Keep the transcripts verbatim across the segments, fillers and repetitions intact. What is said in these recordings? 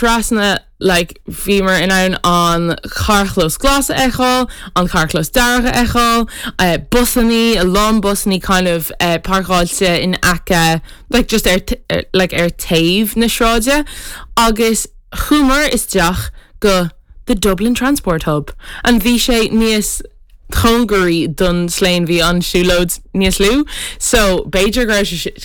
Trasna like bhíomar in ann an carrchlós glas a fheiceáil, an carrchlós dearg a fheiceáil, uh, busanna a lán busanna kind of uh, páirceáilte in aice like just ar er, like ar taobh na sráide agus chuamar isteach go the Dublin Transport Hub and bhí sé níos cóngaraí don Slane bhí an siúlóid níos lú so b'fhéidir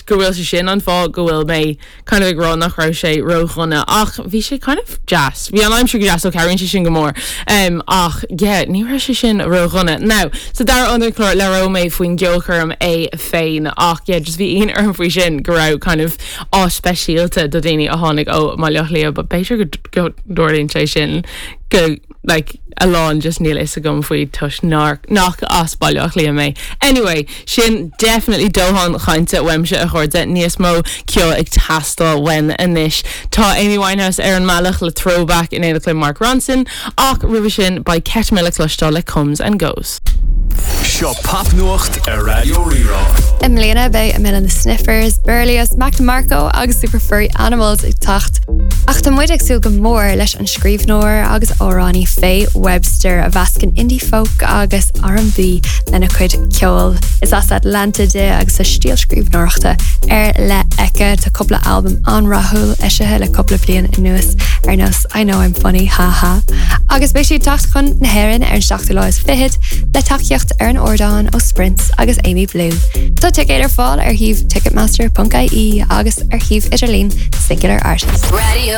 go bhfuil sé sin an fáth go bhfuil mé kind of ag rá nach raibh sé ródhona ach bhí sé kind of deas bhí an aimsir go deas ó cabhraíonn sé sin go mór um, ach yeah, ní raibh sé sin ródhona now sa dara an chlár labhróidh mé faoin gceolchoirm é féin ach yeah, just bhí ionadh orm faoi sin go raibh kind of áit speisialta do daoine a tháinig ó Bhaile Átha Cliath, but b'fhéidir go dtarlaíonn sé sin go like a lán just níl fhios agam faoi toisc nár nach as Baile Átha Cliath mé. Anyway, sin definitely dóthain cainte uaimse a chairde níos mó ceoil ag teastáil uainn anois. Tá Amy Winehouse ar an mbealach le throwback in éineacht le Mark Ronson ach roimhe sin beidh Kate Miller cloisteáil le Comes and Goes. Seo popnuacht ar Raidió Rí-Rá. I mbliana beidh Amyl and the Sniffers, Berlioz, Mac DeMarco agus Super Furry Animals ag teacht. Ach tá muid ag súil go mór leis an scríbhneoir agus amhránaí Faye Webster a mheascann indie folk agus R&B lena cuid ceoil. Is as Atlanta di agus tá stíl scríbhneoireachta ar leith aici tá cúpla albam an-rathúil eisithe le cúpla bliain anuas ar nós I know I'm funny haha. Agus beidh sí ag teacht chun na hÉireann ar an seachtú lá is fichead le tacaíocht ar an ardán ó Sprints agus Amy Blue. Tá ticéid ar fáil ar shuíomh ticketmaster.ie agus ar shuíomh idirlín Singular Artist. Radio